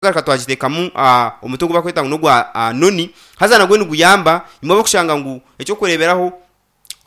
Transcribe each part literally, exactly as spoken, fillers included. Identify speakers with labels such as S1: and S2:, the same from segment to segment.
S1: Twagaruka twagiteekamu omuti ogu barikweta ngu n'ogwa noni haza nagwo niguyamba imwe abarikushanga ngu eky'okureeberaho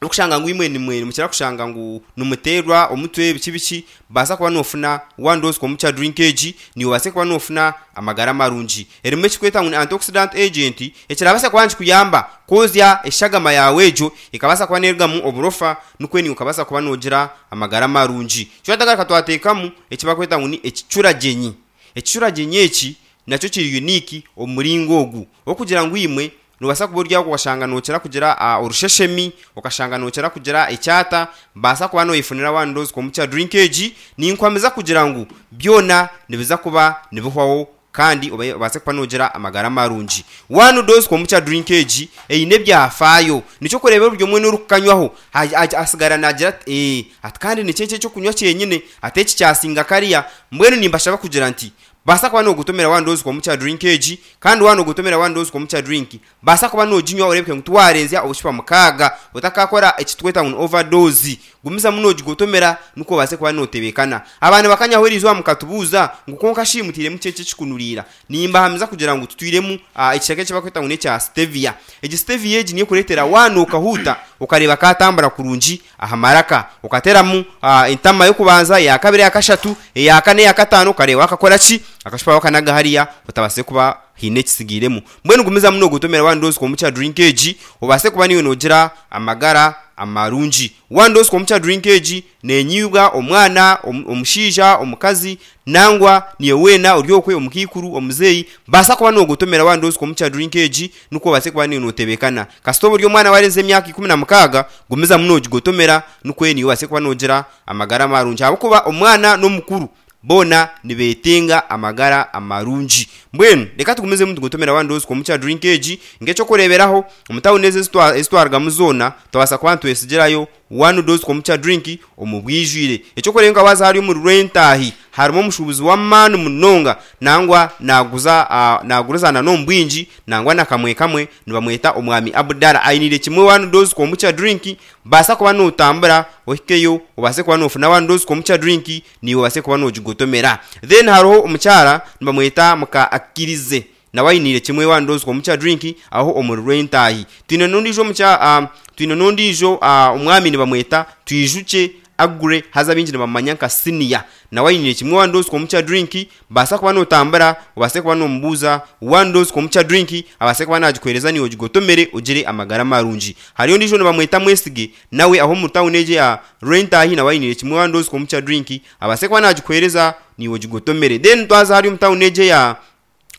S1: orikushanga ngu imwe nimukira kushanga ngu nimuteerwa omutwe biki biki baasa kuba noofuna one dose komukya drink egi niiwe obaase kuba noofuna amagara marungi. Erimu ekirikwetwa ngu ni antioxidant agent ekirabaasa kuba nikikuyamba kwozya eshagama yaawe egyo ekabaasa kuba neerugamu oburofa nikwo naiwe okabaasa kuba noogira amagara marungi. Twagaruka twateekamu eki barikweta ngu ni ekicuragyenyi. Ekicuragyenyi eki nakyo kiri unique omu muringo ogu, okugira ngu imwe noobaasa kuba ori aho okashanga nookira kugira orusheshemi, okashanga nookira kugira ekyata, baasa kuba nooyefunira one dose komukya drink egi, ninkuhamiza kugira ngu byona nibiza kuba nibihwaho kandi obaase kuba noogira amagara marungi. One dose komukya drink egi eine ebyafaayo, nikyo orikureeba buri omwe weena orikukanywaho atsigara naagira ati ee ati kandi niki eki ekyokunywa kyenyine ati eki kyasinga kariya. Mbwenu nimbashaba kugira nti baasa kuba noogotomera one dose komukya drink egi kandi waaba noogotomera one dose komukya drink baasa kuba nooginywa oreebeke ngu tiwaarenzya obucupa mukaaga otakaakora eki turikweta ngu ni overdose. Gumizamu noogigotomera nikwo obaase kuba nootebeekana. Abantu bakanyaho eriizooba mukatubuuza ngu kwonka shi mutairemu ki eki ekikunuriira? Nimbahamiza kugira ngu tutwiremu ekishaka eki barikweta ngu n'ekya stevia. Egi stevia egi niyo erikureetera waanwa okahuuta okareeba kaatambura kurungi aha maraka. Okateeramu entama y'okubanza, eya kabiri, eya kashatu, eya kana, eya kataano okareeba waakakora ki? Akacupa waakanaga hariya otabaasire kuba haine ekitsigairemu. Mbwenu gumizamu noogotomera one dose komukya drink egi obaase kuba naiwe noogira amagara amarungi. One dose komukya drink egi neenywibwa omwana, omushaija, omukazi nangwa naiwe weena ori okwe omukaikuru, omuzeeyi, baasa kuba noogotomera one dose komukya drink egi nikwo obaase kuba naiwe nootebeekana. Kasita oba ori omwana waarenzya emyaka ikumi na mukaaga, gumizamu noogigotomera nikwo naiwe obaase kuba noogira amagara marungi ahabw'okuba omwana n'omukuru boona nibeetenga amagara amarungi. Mbwenu reka tugumizemu nitugotomera one dose komukya drink egi. Nk'eky'okureeberaho, omu tauni ezi ezi twarugamu zoona, twabaasa kuba nitwesigirayo one dose komukya drink omu bwijwire. Eky'okureeberaho nka waaza hariya omuri Rwentaahi, harimu omushuubuzi w'amaani munonga nangwa naaguza naaguriza n'omu bwingi nangwa na kamwe kamwe nibamweta Omwami Abdallah. Ainiire kimwe one dose komukya drink. Baasa kuba nootambura ohikeyo obaase kuba noofuna one dose komukya drink naiwe obaase kuba noogigotomera. Then hariho omukyara nibamweta muka Akirize nawe ainiire kimwe one dose komukya drink aho omuri Rwentaahi. Twine n'ondiijo omukyara twine n'ondiijo omwami nibamweta Twijukye Aggrey haza abaingi nibamumanya nka Senior. Nawe ainiire kimwe one dose komukya drink. Baasa kuba nootambura obaase kuba noomubuuza one dose komukya drink abaase kuba naagikuheereza naiwe ogigotomere ogire amagara marungi. Hariyo ondiijo nibamweta Mwesige nawe aho omu tauni egyo eya Rwentaahi nawe ainiire kimwe one dose komukya drink abaase kuba naagikuheereza naiwe ogigotomere. Then twaza hariya omu tauni egyo eya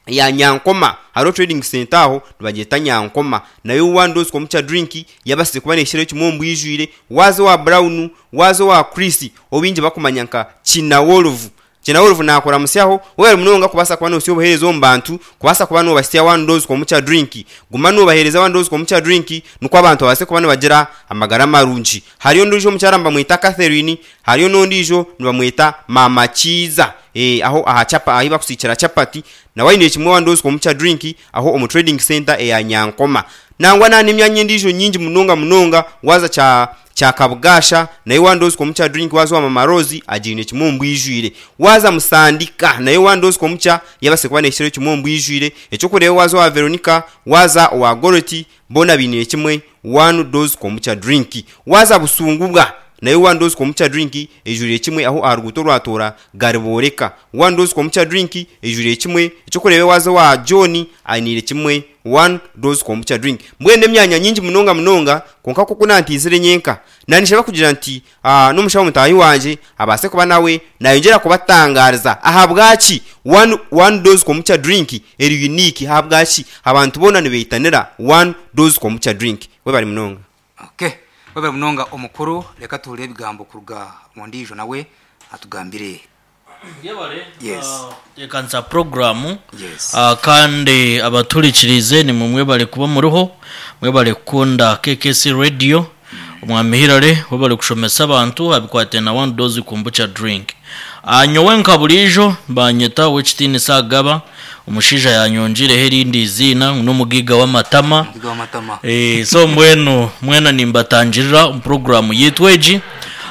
S1: eya Nyankoma hariho trading centre aho nibagyeta Nyankoma nayo one dose komukya drink yabaasize kuba neehikirayo kimwe omu bwijwire. Waaza owa Brown, waaza owa Chris ou baingi barikumanya nka Kinawolovu, Kinawolovu naakuramutsyaho webare munonga kubaasa kuba noohitsya obuheereza omu bantu kubaasa kuba noobahitsya one dose komukya drink. Guma noobaheereza one dose komukya drink nikwo abantu babaase kuba nibagira amagara marungi. Hariyo ondiijo omukyara nibamweta Catherine, hariyo n'ondiijo nibamweta Maama Kiiza aho aha chapa ahu barikusiikira chapati nawe aine kimwe one dose komukya drink aho omu trading centre eya Nyankoma. Nangwa na n'emyanya endiijo nyingi munonga munonga waaza kya kya Kabugaasha nayo one dose komukya drink waaza owa Mama Rose agiine kimwe omu bwijwire. Waaza Musandika nayo one dose komukya yabaasa kuba neehikirayo kimwe omu bwijwire. Eky'okureeba waaza owa Veronica, waaza owa Goreti boona bainiire kimwe one dose komukya drink. Waaza Busungubwa nayo one dose komukya drink eijwiriire kimwe aho aha ruguuto orwa Toora Garibooreka. One dose komukya drink eijwiriire kimwe. Eky'okureeba waaza owa John ainiire kimwe one dose komukya drink. Mbwenu n'emyanya nyingi munonga munonga kwonka nk'oku naantiizire nyenka, naanishaba kugira nti n'omushaho mutaahi wangye abaase kuba nawe naayongyera kubatangaariza ahabwaki one one dose komukya drink eri unique, ahabwaki abantu boona nibeitanira one dose komukya drink. Webare munonga.
S2: Okay, webare munonga omukuru, reka tuhurire ebigambo kuruga omu ondiijo nawe atugambire.
S3: Yebare
S2: Yes.
S3: kuteekanisa puroguraamu
S2: Yes.
S3: kandi abatuhurikiriize nimwe mwebare kuba muriho, mwebare kukunda K K C Radio. Omwami Hillary webare kushomesa abantu aha bikwatiraine na One Dose Kombucha Drink. Nyowe nka buriijo nibanyeta Owekitiinisa Agaba, omushaija yanyongiireho erindi eiziina ngu n'omugaiga w'amatama.
S2: Omugaiga w'amatama.
S3: Eh, so mbwenu mwena nimbatangirira omu puroguraamu yaitu egi.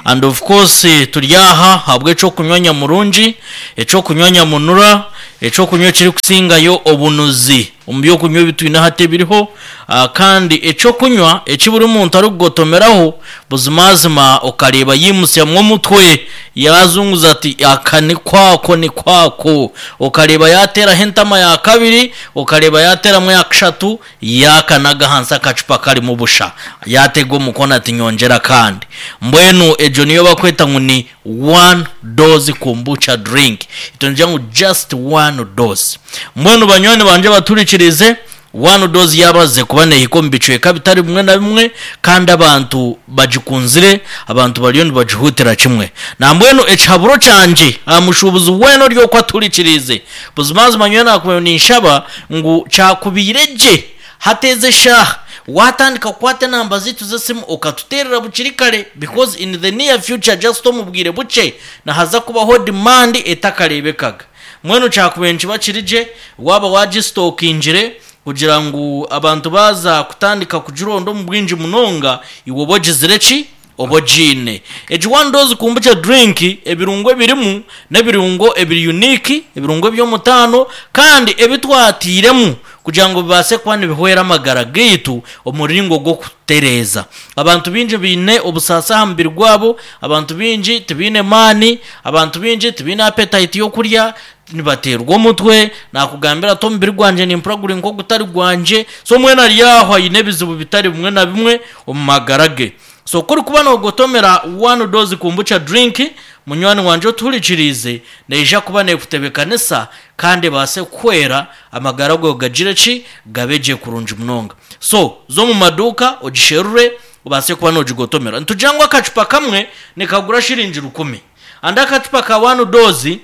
S3: And of course turi aha ahabw'eky'okunywa nyamurungi, eky'okunywa nyamunura, Ekyokunywa ekirikusingayo obunuzi omu byokunywa ebitwine hati ebiriho, ah, kandi ekyokunywa eki buri muntu arikugotomeraho buzimazima okareeba yimutsyamu omutwe yazunguza ati aka ni kwako ni kwako, okareeba yateeraho entama ya kabiri, okareeba yateeramu eya kashatu, yakanaga ahansi akacupa karimu busha, yatega omukono ati nyongyera kandi. Mbwenu egyo niyo bakweta ngu ni one dose kombucha drink, itwe nitugira ngu just one dose. Mbwenu banywani bangye baturikirize, one dose yabaze kuba nehika omu bicweka bitari bimwe na bimwe, kandi abantu bagikunzire, abantu bariyo nibagihutira kimwe. Nambwenu ekihaburo kyangye aha mushuubuzi weena ori oku aturikiriize, buzimazima nyowe nakubaire ninshaba ngu kyakubaire gye hateeze eshaaha watandika kukwata enamba zaitu z'esimu okatuteerera bukiri kare, because in the near future just omu bwire bukye nihaza kubaho demand etakareebekaga. Mbwenu kyakubaire nikiba kiri gye waaba wagisitokingire kugira ngu abantu baaza kutandika kugironda omu bwingi munonga, iwe oba ogizire ki? Oba ogiine. Egi one dose kombucha drink ebirungo ebirimu n'ebirungo ebiri unique, ebirungo eby'omutaano kandi ebitwatiiremu kugira ngu bibaase kuba nibihwera amagara gaitu omu muringo gw'okutereeza. Abantu baingi baine obusaasi aha mubiri gwabo, abantu baingi tibaine maani, abantu baingi tibaine appetite y'okurya, nibateerwa omutwe, nakugambira ati omubiri gwangye nimpurira guri nk'ogutari gwangye. So mbwenu ari aho aine ebizibu bitari bimwe na bimwe omu magara ge. So ku orikuba noogotomera one dose kombucha drink, munywani wangye otuhurikiriize, neija kuba neekutebeekanisa kandi ebaase kukuhwera amagara gaawe gagire ki? Gabe gye kurungi munonga. So za omu maduuka ogisherure obaase kuba noogigotomera. Nitugira ngu akacupa kamwe nikagura shiringi rukumi, and akacupa ka one dose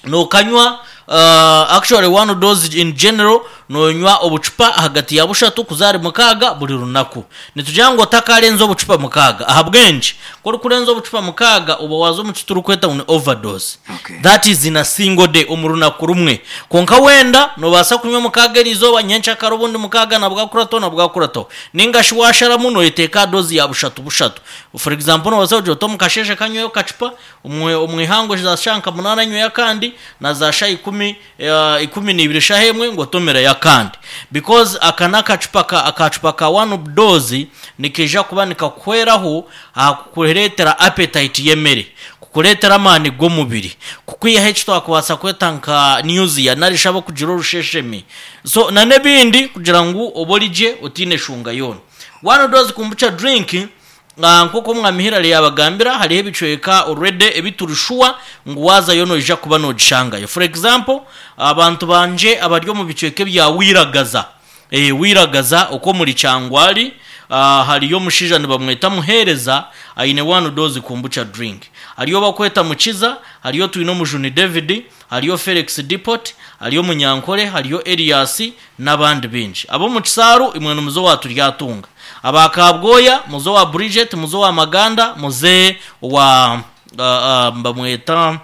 S3: nookanywa, uh, actually one dose in general noonywa obucupa ahagati ya bushatu kuza ahari mukaaga buri runaku. Nitugira ngu otakarenza obucupa mukaaga. Ahabw'enki? Ku orikurenza obucupa mukaaga oba waaza omu ki turikweta ngu ni overdose.
S2: Okay.
S3: That is in a single day, omu runaku rumwe. Kwonka wenda noobaasa kunywa mukaaga eriizooba, nyenkyakare obundi mukaaga nabwakurataho nabwakurataho. Ninga shi waasharamu nooyeteeka aha dose ya bushatu bushatu. For example noobaasa kugira oti omu kasheeshe kanyweyo akacupa, omu omu ihangwe za shaaha nka munaana nyweyo akandi, na za shaaha ikumi, eh, ikumi n'ibiri shaaha emwe ngotomereyo akandi. Because aka n'akacupa ka akacupa ka one dose nikaija kuba nikakuhweraho aha kukureetera appetite y'emere, kukureetera amaani g'omubiri, kukwihaho eki twakubaasa kweta nka nausea nari shi abarikugira orusheshemi. So na n'ebindi kugira ngu obe ori gye otaine shunga yoona. One dose kombucha drink, ah, nk'oku omwami Hillary yabagambira, hariho ebicweka already ebi turi sure ngu waazayo noija kuba noogishangayo. For example, abantu bangye abari omu bicweka ebya Wiragaza, eh, Wiragaza okwo omuri Kyangwali, ah, hariyo omushaija nibamweta Muheereza aine one dose kombucha drink. Hariyo bakweta Mukiza, hariyo twine Omujuni David, hariyo Felix Depot, hariyo Munyankore, hariyo Elias n'abandi baingi. Ab'omu Kisaaru imwe nimuze owa Turyatunga. Aba Kabwoya muze owa Bridget, muze owa Maganda, muze owa uh, uh, bamweta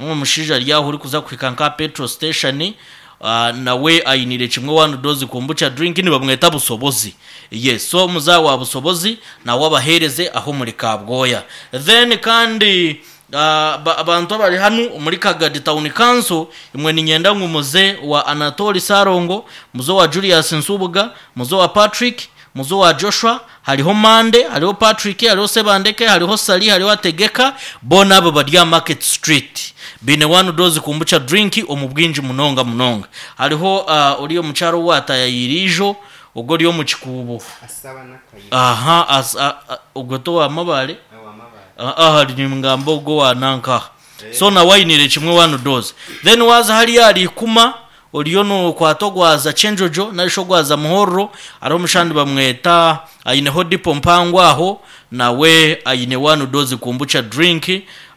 S3: omushaija ari aho orikuza kuhika nka petrol station, uh, nawe ainire kimwe one dose kombucha drink nibamweta Busobozi. Yes, so muza wa Busobozi nawe abaheereze aho muri Kabwoya. Then kandi uh, ba- abantu abari hanu omuri Kagadi Town Council, imwe ninyenda ngu muze wa Anatoli Sarongo, muze wa Julius Nsubuga, muze wa Patrick, muze wa Joshua, hariho Mande, hariho Patrick, hariho Sebandeke, hariho Sali, hariho Ategeka, boona abo bari aha Market Street. Baine one dose kombucha drink omu bwingi munonga munonga. Hariho uh, ori omukyaro owatayayiire ijo, ogwo ori omu kikuubo.
S1: Asaba n'akayi
S3: Aha, as, a, a, ogwo to wa Mabare? Aha, ningamba ogwo wa nankaha. So nawe ainire kimwe one dose. Then waza hariya hari ikuma, oriyo nokwata ogwaza Kyenjojo nari shi ogwaza Muhorro, hariho omushandi bamweta aineho dipo mpango aho, nawe aine one dose kombucha drink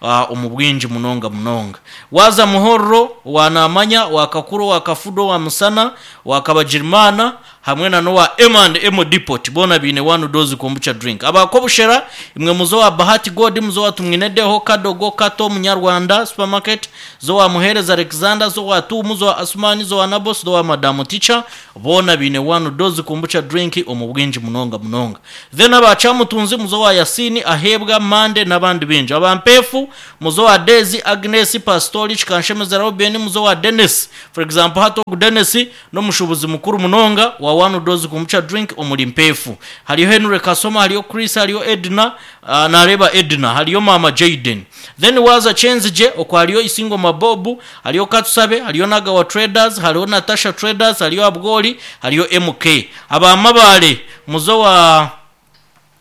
S3: uh, omu bwingi munonga munonga. Waza Muhorro, wa Namanya, wa Kakuro, wa Kafudo, wa Musana, wa Kabagirimana, hamwe na nowa M and M Depot, boona baine one dose kombucha drink. Abakobushera imwe muzo wa Bahati God, muzo wa Tumwinedeho, Kadogo, Kato, Munyarwanda Supermarket, zo wa Muhereza Alexander, zo wa Tumu, zo wa Asumani, zo wa Nabos, zo wa Madamu Teacher, boona baine one dose kombucha drink omu bwingi munonga munonga. Then abacamutunzi muzo wa wa Yasini Ahebwa Mande n'abandi bingi. Abampefu, muzo wa Dezi Agnes Pastori Kikanshemeza Robin, muzo wa Dennis. For example, hato ogu Dennis n'omushubuzi mukuru munonga wa one dose kombucha drink omuri mpefu. Hariyo Henry Kasoma, hariyo Chris, hariyo Edna, uh, nareba Edna, hariyo mama Jaden. Then waza Chenzije okwo hariyo Isingo Mabobu, hariyo Katsusabe, hariyo Nagawa Traders, hariyo Natasha Traders, hariyo Abgoli, hariyo M K. Abamabale muzo wa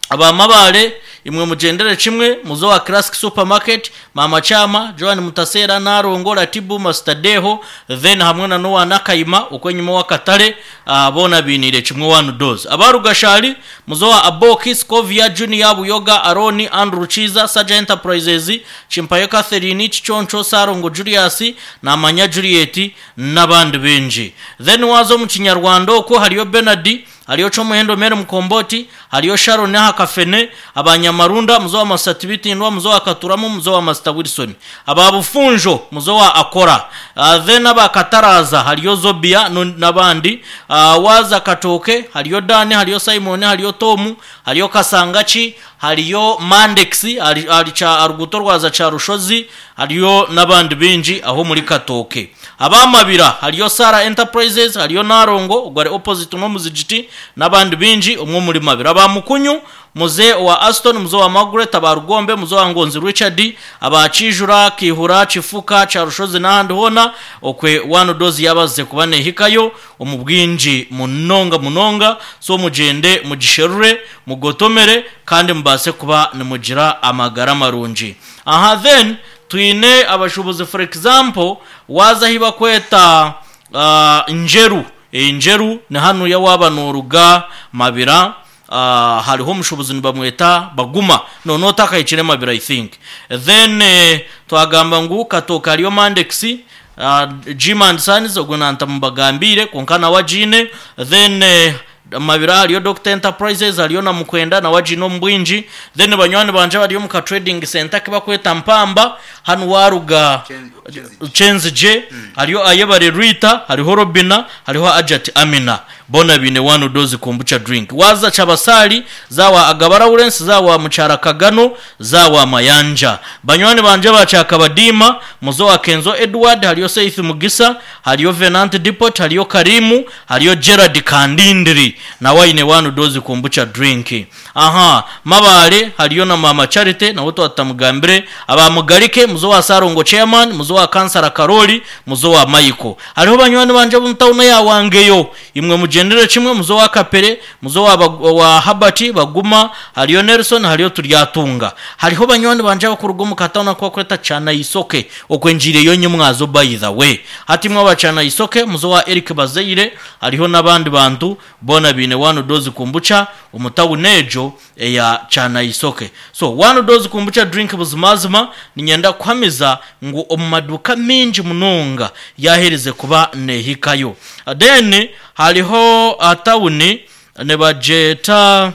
S3: abamabale imwe mugendere kimwe, muzo wa Classic Supermarket, Mama Chama, Joan Mutasera, Narongo, Ratibu, Master Deho, then hamwe na Noah Nakayima uko nyuma wa Katare, uh, bona binire kimwe one dose. Abarugashali muzo wa Aboki, Scovia Junior, Buyoga, Aroni, Andrew Chiza, Saja Enterprises, Chimpayo Catherine, Chichoncho, Sarongo Julius, na Manya Juliet n'abandi benji. Then wazo mu Kinyarwanda uko hariyo Bernard, hariyo Chomuhendo Mere Mukomboti, hariyo Sharon Hakafene, abanyamarunda muzo wa Masatibitindwa, muzo wa Katuramo, muzo wa Master Wilson, ababufunjo muzo wa Akora, uh, then abakataraza hariyo Zobia n'abandi, uh, waza Katoke, hariyo Dani, hariyo Simon, hariyo Tomu, hariyo Kasangachi, hariyo Mandex, hari cha aruguto rwaza cha Rushozi, hariyo n'abandi binji aho muri Katoke. Abamabira hariyo Sara Enterprises, hariyo Narongo ugware opposite no muzigiti n'abandi binji umwe muri mabira. Abamukunyu muze wa Aston, muze wa Margaret, abarugombe muze wa Ngonzi Richard, abakijura Kihura Chifuka Charushozi n'ahandi hona okwe one dose yabaze kubane hikayo omubwinji munonga munonga. So mugende mugisherure mugotomere kandi mubase kuba nimugira amagara marungi. Aha then twine abashubuzi, for example waza hiba kweta uh, njeru e, njeru ni hano ya waba noruga mabira. Uh, hariho omushubuzi nibamweta Baguma, no no takayikire mabira I think. Then eh, twagamba ngu Katoka hariyo Mandex, uh, Jim and Sons ogwo nanta mubagambire konka nawe agiine. Then eh, mabira hariyo Doctor Enterprises, hariyo na Mukwenda na wajino mbwinji. Then banywani banje bariyo mu ka trading center kibakweta Mpamba hano waruga Chenzije, hariyo Ayebare Rita, hariho Robina, hariho Ajat Amina, bona bine one dose kombucha drink. Waza Chabasali zawa Agabara Lawrence, zawa Muchara Kagano, zawa Mayanja. Banywani banje bachakabadima muzo wa Kenzo Edward, hariyo Seith Mugisa, hariyo Venant Depot, hariyo Karimu, hariyo Gerard Kandindiri na waine one dose kombucha drink. Aha, Mabale hariyo na Mama Charity na woto atamugambire. Abamugarike muzo wa Sarongo Chairman, muzo wa Kansara Karoli, muzo wa Maiko. Hariho banywani banje mutawuna ya wangeyo imwe mugendere kimwe, muzo wa Kapere, muzo wa, wa Habati Baguma, hariyo Nelson, hariyo Turyatunga. Hariho banywani banje bakurugo mukatawuna kwa kweta chana isoke okwenjire yonye mwazo by the way. Hati mwa bacana isoke muzo wa Eric Bazeire, hariho nabandi bantu bona bine one dose kombucha umutawunejo eya chana isoke. So one dose kombucha drink buzimazima ninyenda kwamiza ngu omumaduka mingi munonga yahereze kuba nehikayo. Then hariho atawuni nebajeta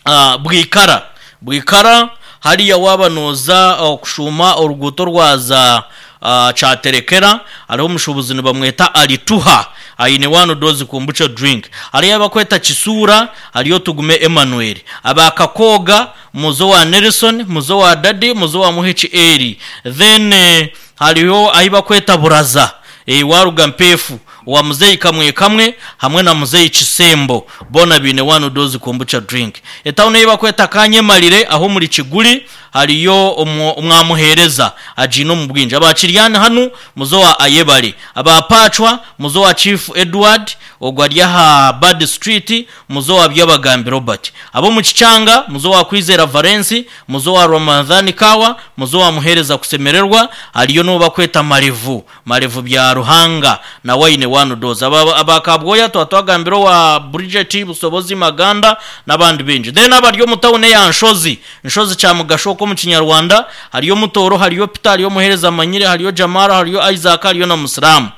S3: uh, Bwikara Bwikara hariya waba noza okushuma oruguto rwaza uh, chaterekera, hariho omushubuzi nibamweta Alituha aine one dose kombucha drink. Hariyo abakweta Kisura, hariyo Tugume Emmanuel. Abakakoga muzo wa Nelson, muzo wa Dadi, muzo wa Muhichi Eri. Then eh, hariyo ahibakweta Buraza e, waruga mpefu wa muzeyi kamwe kamwe hamwe na muzeyi Chisembo, bona bine one dose kombucha drink. Etawune yibakweta Kanyemalire aho muri Kiguli hariyo omwamuhereza ajino mu bwinji. Abakiryana hanu muzo wa Ayebare, abapachwa muzo wa Chief Edward ogwa ha Bad Street, muzo wa Byabagambi Robert. Abo mu Kichanga muzo wa Kwizera Valence, muzo wa Ramadhani Kawa, muzo wa Muhereza kusemererwa, hariyo no bakweta Marevu, Marevu bya Ruhanga na waine one dose. Abakabwoya twatwagambiro wa Bridget Busobozi Maganda n'abandi binji. Then abaryo mutawune ya Nshozi, Nshozi cha Mugashoko mu Kinyarwanda, hariyo Mutoro, hariyo Peter, hariyo Muhereza Manyire, hariyo Jamara, hariyo Isaac, hariyo na Musiramu.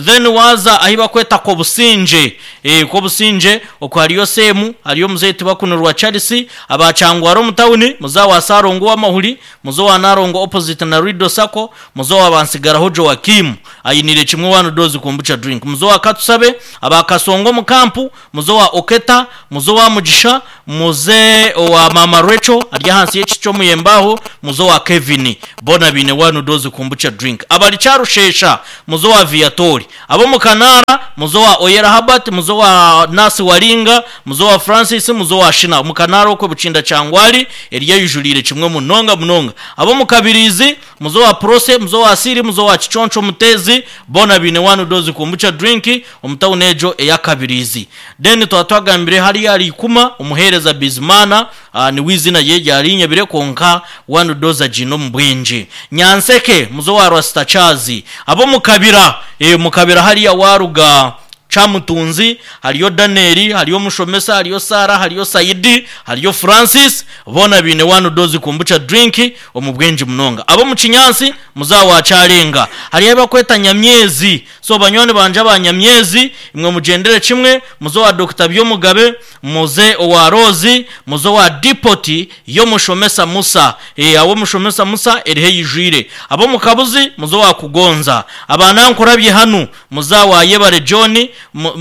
S3: Then waza ahiba kweta Kobusinje Kobusinje eh Kobusinje okwo hariyo Semu, hariyo mzee Tibakunurwa Charles, abachangwaro mu town, muza wa Sarongo w'amahuri, muzo wa Narongo opposite na Rido Sako, muzo wa Bansigaraho Joakim ayinire kimwe wanu dozi kombucha drink, muzo wa Katusabe, abakasongo mu kampu, muzo wa Oketa, muzo wa Mugisha, muze wa Mama Rachel ari hansi y'ekico muyembaho, muzo wa Kevin bona bine wanu dozi kombucha drink, abali charushesha muzo wa Viatori, abo mu Kanara muzo wa Oyera Habat, muzo wa Nasi Waringa, muzo wa Francis, muzo wa Shina mu Kanara uko bucinda cyangwari eriya yujurire kimwe munonga munonga, abo mu Kabirizi muzo wa Prose, muzo wa Siri, muzo wa Chichoncho Mutezi bona bine wanu dozi kombucha drink omutawunejo eya Kabirizi. Then twatwagambire hari yari ikuma umuhereza Bizimana uh, ni wizina ye yarinyabire konka wanu doza jino mbwinji Nyanseke muzo wa Rastachazi, abo mu Kabira e, mu Kabira hariya waruga Chamutunzi, hariyo Danieli, hariyo Mushomesa, hariyo Sara, hariyo Saidi, hariyo Francis, bona bine wanu dozi kombucha drink omubwenji munonga. Abo mu Kinyansi muzawa charenga, hariyo abakweta Nyamyezi, so banywani banje abanyamyezi imwe mugendere kimwe, muzo wa Doctor Byomugabe, muze wa Rozi, muzo wa Dipoti yo Mushomesa Musa, e, abo Mushomesa Musa erihe yijwire, abo mu Kabuzi muzo wa Kugonza, abanankurabye hanu muzawa Yebare John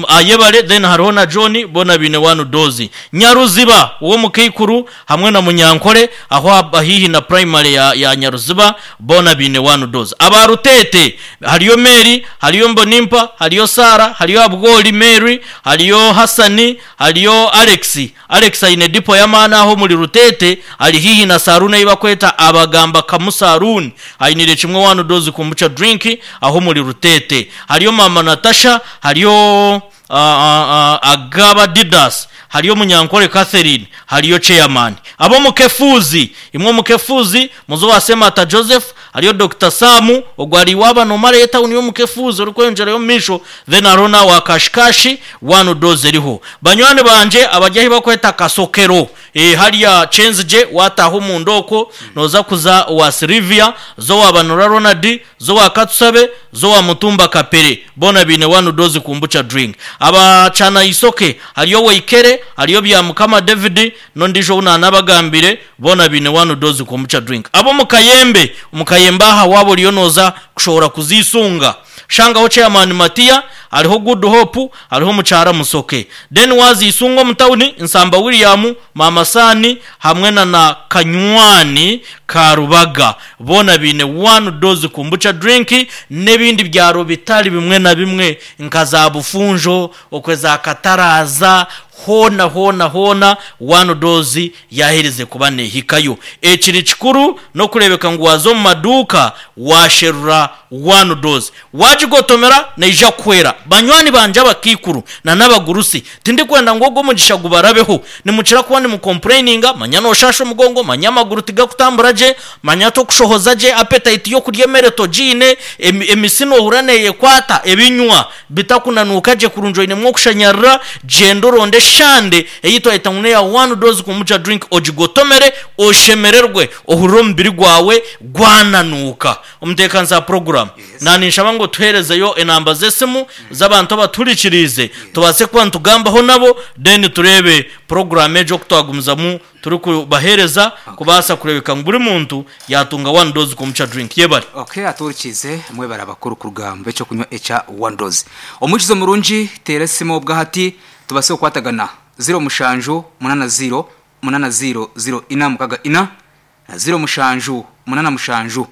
S3: ayebare, then hariho na John bona bine wanu dozi Nyaruziba uwo mukikuru hamwe na Munyankore aho ahihi na primary ya, ya Nyaruziba bona bine wanu dozi. Abarutete hariyo Mary, hariyo Mbonimpa, hariyo Sara, hariyo Abgoli Mary, hariyo Hasani, hariyo Alex. Alex aine dipo yamana aho muri Rutete ari hihi na Sarune ibakweta abagamba kamusaruni ainire kimwe wanu dozi kombucha drink aho muri Rutete. Hariyo mama Natasha, hariyo uh, uh, uh, Agaba Didas, hariyo Munyankore Catherine, hariyo chairman. Abo mukefuzi, imwe mukefuzi muzo wasema ata Joseph, hariyo Doctor Samu ogwari waba no mare yeta uniyo mukefuzi uriko yo misho, then arona wa kashikashi wanu doze riho. Banywane banje abajyahi bakweta kasokero e, hariya Chenzje wataho mu ndoko noza kuza wa Silvia, zo wa Banura Ronald, zo wa Katsabe, zo wa Mutumba Kapere, bona bine wanu dozi kombucha drink. Abacana isoke hariyo Weikere, hariyo bya Mukama David nondijo unanabagambire bona bine wanu dozi kombucha drink. Abo mukayembe mukayemba aha wabo liyonoza kushobora kuzisunga shangaho chairman Matia, hariho Good Hope, hariho mucara musoke, then wazisunga mutawuni Nsamba William, Mama Sani hamwe na na Kanywani Karubaga bona bine one dose kombucha drink n'ebindi byaro bitari bimwe na bimwe nka za Bufunjo okwe za Kataraza hona hona hona one dose yahereze kuba nehikayo. Ekiri kikuru no kurebeka ngu wazo mu maduka washerura one dose wajigotomera neija kwera. Banywani banje abakikuru na n'abagurusi tindi kwenda ngo go mugisha gubarabeho nimukira kuba ni mucomplaininga manya no shasho mugongo manya amaguru tigakutambura je manya to kushohoza je appetite yo kurya meretogine emisino huraneye kwata ebinywa bitakunanuka je kurunjoine mwo kushanyarira jendo shande eyitwa etangune ya one dose kombucha drink ojigotomere oshemererwe ohurire omubiri gwawe gwananuka. Omutekanisa program
S2: Yes.
S3: nani nshaba ngo tuherezeyo enamba z'esimu z'abantu abaturikirize tubase kuba nitugambaho nabo then turebe program ejo kutwagumizamu turi kubahereza kubaasa kurebeka ngu buri muntu yatunga one dose kombucha drink yebare.
S2: Okay, aturikize mwebara abakuru ku rugamba ecyo kunywa eca one dose omukizo murungi tera esimu obwahati tubase okukwatagana zero mushanju munana zero munana zero zero ina mukaga ina na zero mushanju munana mushanju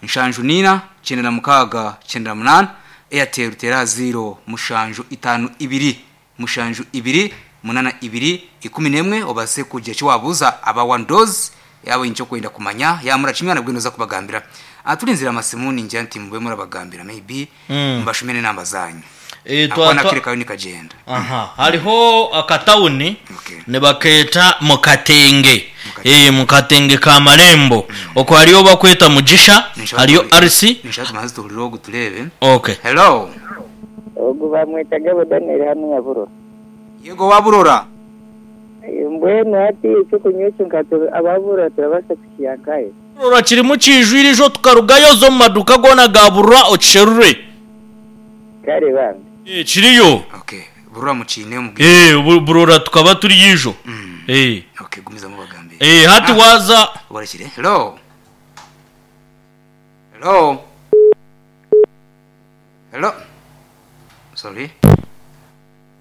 S2: nshanju nina cyenda na mukaga cyenda na munana Airtel tera zero mushanju itanu ibiri mushanju ibiri munana ibiri ikumi n'emwe obase kugira icyo wabuza aba one dose yaba icyo kwenda kumanya yamura kimwe nabwo noza kubagambira aturinzira amasimu ninjya nti mube murabagambira maybe mbashumene namba zanyu
S3: Eh, twa-
S2: akona
S3: twa-
S2: kiri kayo nikagenda
S3: aha hariho akatawuni
S2: Okay.
S3: nibaketa mukatenge
S2: Mukatenge.
S3: eh mukatenge ka marembo oko hariyo bakweta Mugisha, hariyo R C.
S2: nishaka tumaze tuhurire guturebe.
S3: Okay.
S2: Hello.
S4: Ogu bamwita Gabo Daniel hano Nyaburora.
S2: Yego waburora.
S4: Mbwenu hati ekyokunywa ekyo nka ababura turabasa kukiyankayo.
S3: Rora kirimu kijwire ejo tukarugayo zo mu maduka gona gaburura okisherure.
S4: Kare bambi.
S3: Eh, kiriyo.
S2: Okay. Burora mukine mu
S3: eh bu- burora tukaba turi yijo eh
S2: okay gumiza mubagambe.
S3: eh hati
S2: Ah.
S3: waza
S2: Warekire. Hello. Hello. Hello. Sorry.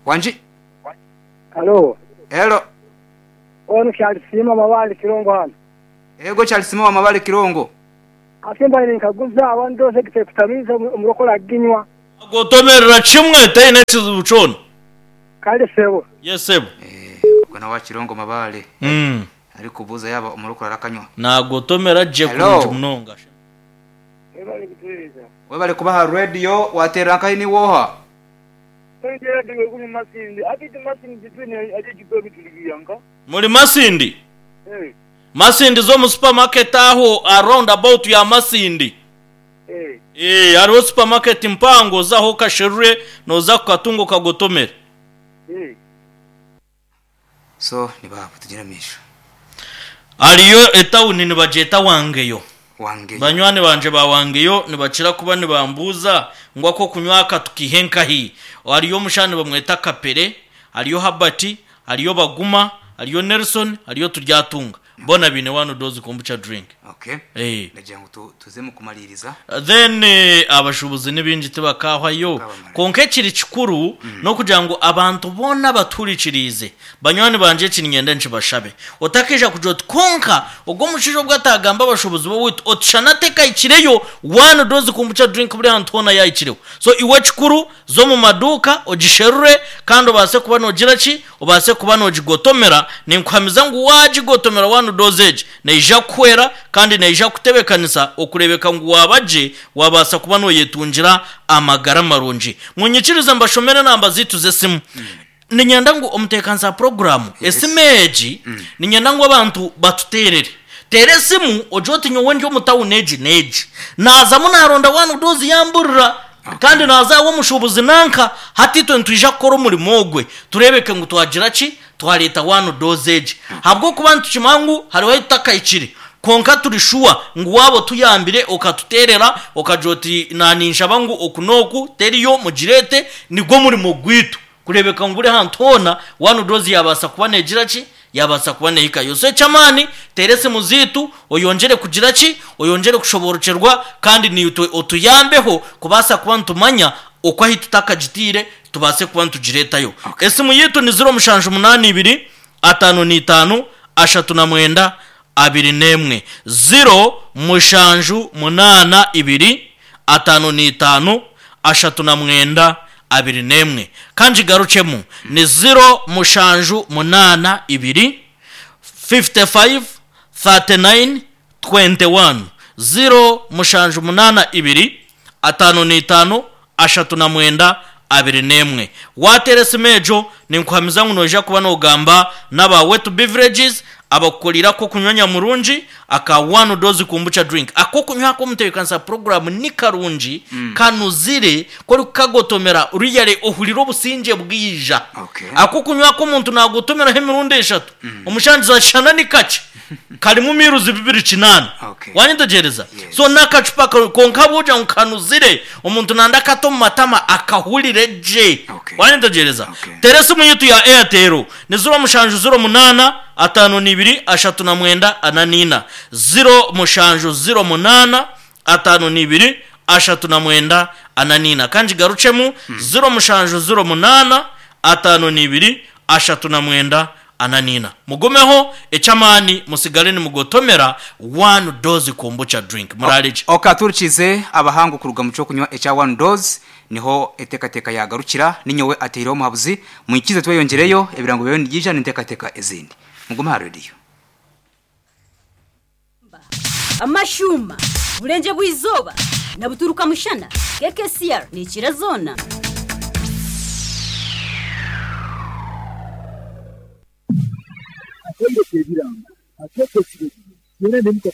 S2: Wanji.
S5: Halo,
S2: Hello.
S5: ono Charles Sima mabali Kirongo hano.
S2: Ego Charles Sima mabali Kirongo.
S5: Asimba ni nkaguza abantu ndose kitekutamiza umurokola ginywa
S3: gotomerera kimwe taine ekizibu kyona
S5: kandi sebo.
S3: yesebo
S2: Eh, ubwo nawe wa Kirongo mabale.
S3: mm.
S2: Ariko buza yaba umurokora arakanywa.
S3: nagotomera je
S2: Hello.
S3: kurungi munonga
S5: Ebali kutuliza.
S2: Webale kubaha radio watera nkahi ni woha.
S5: Twendera diwe kuni Masindi. Akiti Masindi twine aje kigobi tuligiyanka.
S3: muri Masindi
S5: Eh,
S3: Masindi zo mu supermarket aho around about ya Masindi
S5: eh.
S3: eh hariho supermarket mpango zaho kasherure noza kukatungo kagotomera
S5: Eh.
S2: So ni babo tugira misho.
S3: hariyo etawuni nibajeta wangeyo
S2: Wange.
S3: banywani banje bawangeyo nibakira kuba nibambuza ngo ako kunywa aka tukihe nkahi hariyo omushani bamweta kapere hariyo habati hariyo baguma hariyo Nelson hariyo turyatunga bona bine wano dozi kombucha drink
S2: Okay.
S3: eh
S2: Ndagira ngo tu- tuze mu kumaliriza.
S3: Then eh, abashubuzi n'ibingi tibakahwayo
S2: Bakabamara.
S3: konka ekiri kikuru nokugira ngu abantu boona baturikirize banywani banje ekinyenda nkibashabe otakija kugira oti konka ogwo omushaija obwo atagamba abashubuzi bowitu otushana tekayikireyo one dozi kombucha drink buri hantu hoona yayikireho. So iwe kikuru zo mu maduka ogisherure kandi obaase kuba nogira ki obaase kuba nogigotomera. Ninkuhamiza ngu wagigotomera one dozi egi neija kuhwera kandi neija kutebekanisa okurebeka ngu wabaje wabaasa kuba noyetungira amagara marungi. Munyikirize mbashomere namba zitu z'esimu. Ninyenda ngu omutekanisa programu
S2: Yes.
S3: esimu egi ninyenda ngu abantu batuterere tere esimu ogye oti nyowe ndi omu tawuni egi n'egi nazamu naronda wanu dozi yamburira kandi nazaho omushubuzi nanka hati itwe nitwija kukora omurimo ogwe turebeke ngu twagira ki twareta wanu dozi egi habwokuba nitukimanya ngu hariho etutakahikire konka turi shuwa ngu wabo tuyambire okatuterera okagira oti naninshaba ngu oku n'oku teriyo mugirete nigwo murimo gwitu kurebeka ngu buri hantu hoona wanu dozi yabaasa kuba negira ki yabaasa kuba nehikayo. So ekyamaani tere esimu ziitu oyongere kugira ki oyongere kushoborokyerwa kandi niitwe otuyambeho kubaasa kuba nitumanya oku ahi tutakagitiire tubaase kuba nitugiretayo. Esimu yitu ni ziro mushanju munaani ibiri atano n'itaano ashatu na mwenda abiri n'emwe ziro mushanju munaana ibiri atano n'itaano ashatu na mwenda abiri n'emwe. Kandi garucemu ni ziro mushanju munaana ibiri fifty-five thirty-nine twenty-one ziro mushanju munaana ibiri atano n'itaano ashatu na mwenda abiri n'emwe. Watera esimu ejo ninkuhamiza ngu noija kuba nogamba n'aba Wetu Beverages abakukorera ko kunywa murungi aka one dozi kombucha drink ako kunywa ko mutekanisa program ni karungi mm. kanuzire kori kukagotomera uriyare ohurira obusinge bwija.
S2: Okay.
S3: Ako kunywa ko omuntu nagotomeraho emirundi eshatu omushangizi ashana ni kakye karimu miruzi bibiri kinana.
S2: Okay.
S3: Wanyitegereza.
S2: Yes.
S3: So n'akacupa ka- konka buja ngu kanuzire omuntu nanda akato mu matama akahurire gye.
S2: Okay.
S3: Wanyitegereza.
S2: Okay.
S3: Tere esimu yitu ya Airtel ni ziro mushanju ziro munana atano n'ibiri ashatu na mwenda ana n'ina ziro mushanju ziro munana atano n'ibiri ashatu na mwenda ana n'ina. Kandi garucemu ziro mushanju ziro munana atano n'ibiri ashatu na mwenda ana n'ina. Mugumeho ekyamaani musigale nimugotomera one dozi kombucha drink murarije.
S2: Okay, aturikize abahangu kuruga mu cyo kunywa ecya one dose niho etekateka yagarukira ninyowe ateireho omuhabuzi mwikize tweyongereyo ebirango byawe nibyija n'entekateka ezindi mugume aha radio.
S6: Amashuma burenje bw'izuba na buturuka mushana K K C R ni ikirazona.
S7: Atendeke ebiranga atekesire yera ne